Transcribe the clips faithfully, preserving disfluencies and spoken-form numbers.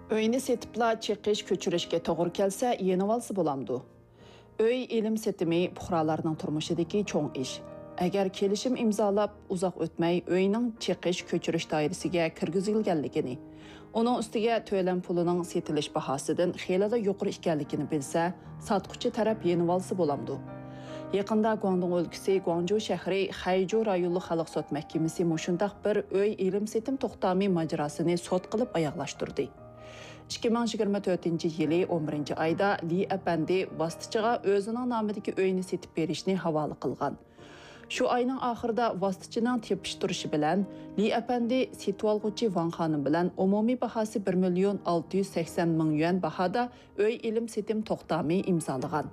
ئۆينى سېتىپلا چېقىش كۆچۈرۈشكە توغرا كەلسە، يېنىۋالسا بولامدۇ؟ ئۆي ئېلىم-سېتىمى پۇقرالارنىڭ تۇرمۇشىدىكى چوڭ ئىش. ئەگەر كېلىشىم ئىمزالاپ، ئۇزاق ئۆتمەي ئۆينىڭ چېقىش كۆچۈرۈش دائىرىسىگە كىرگۈزۈلگەنلىكىنى، ئۇنىڭ ئۈستىگە تۆلەم پۇلىنىڭ سېتىلىش باھاسىدىن خېلىلا يۇقىرى ئىكەنلىكىنى بىلسە، ساتقۇچى تەرەپ يېنىۋالسا بولامدۇ؟ يېقىندا گۇاڭدۇڭ ئۆلكىسى گۇاڭجۇ شەھىرى خەيجۇ رايونلۇق خەلق سوت مەھكىمىسى مۇشۇنداق بىر ئۆي ئېلىم-سېتىم توختامى ماجىراسىنى سوت قىلىپ ئاياغلاشتۇردى. ئىككى مىڭ يىگىرمە تۆتىنچى يىلى ئون بىرىنچى ئايدا لى ئەپەندى ۋاسىتىچىغا ئۆزىنىڭ نامىدىكى ئۆينى سېتىپ بېرىشنى ھاۋالە قىلغان. شۇ ئاينىڭ ئاخىرىدا ۋاسىتىچىنىڭ تېپىشتۇرۇشى بىلەن، لى ئەپەندى سېتىۋالغۇچى ۋاڭ خانىم بىلەن ئومۇمىي باھاسى بىر مىليون ئالتە يۈز سەكسەن مىڭ يۈەن باھادا ئۆي ئېلىم-سېتىم توختامى ئىمزالىغان.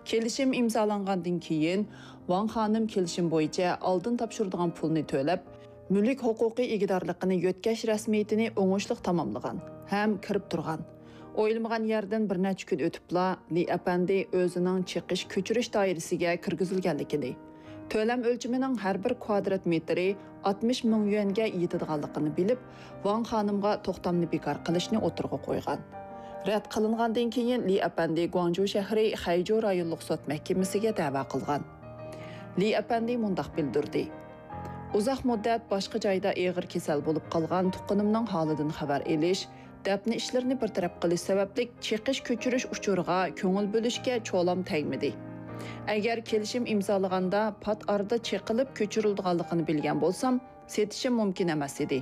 كېلىشىم ئىمزالانغاندىن كېيىن، ۋاڭ خانىم كېلىشىم بويىچە ئالدىن تاپشۇرىدىغان پۇلنى تۆلەپ، مۈلۈك ھوقۇقى ئىگىدارلىقىنى يۆتكەش رەسمىيىتىنى ئوڭۇشلۇق تاماملىغان ھەم كىرىپ تۇرغان. ئويلىمىغان يەردىن بىر نەچچە كۈن ئۆتۈپلا، لى ئەپەندى ئۆزىنىڭ چېقىش كۆچۈرۈش دائىرىسىگە كىرگۈزۈلگەنلىكىنى، تۆلەم ئۆلچىمىنىڭ ھەر بىر كۋادرات مېتىرى ئاتمىش مىڭ يۈەنگە يېتىدىغانلىقىنى بىلىپ، ۋاڭ خانىمغا توختامنى بىكار قىلىشنى ئوتتۇرىغا قويغان. رەت قىلىنغاندىن كېيىن، لى ئەپەندى گۇاڭجۇ شەھىرى خەيجۇ رايونلۇق سوت مەھكىمىسىگە دەۋا قىلغان. لى ئەپەندى مۇنداق بىلدۈردى: ئۇزاق مۇددەت باشقا جايدا ئېغىر كېسەل بولۇپ قالغان تۇغقىنىمنىڭ ھالىدىن خەۋەر ئېلىش، دەپنە ئىشلىرىنى بىر تەرەپ قىلىش سەۋەبلىك چېقىش كۆچۈرۈش ئۇچۇرىغا كۆڭۈل بۆلۈشكە چولام تەگمىدى. ئەگەر كېلىشىم ئىمزالىغاندا پات ئارىدا چېقىلىپ كۆچۈرۈلىدىغانلىقىنى بىلگەن بولسام، سېتىشىم مۇمكىن ئەمەس ئىدى.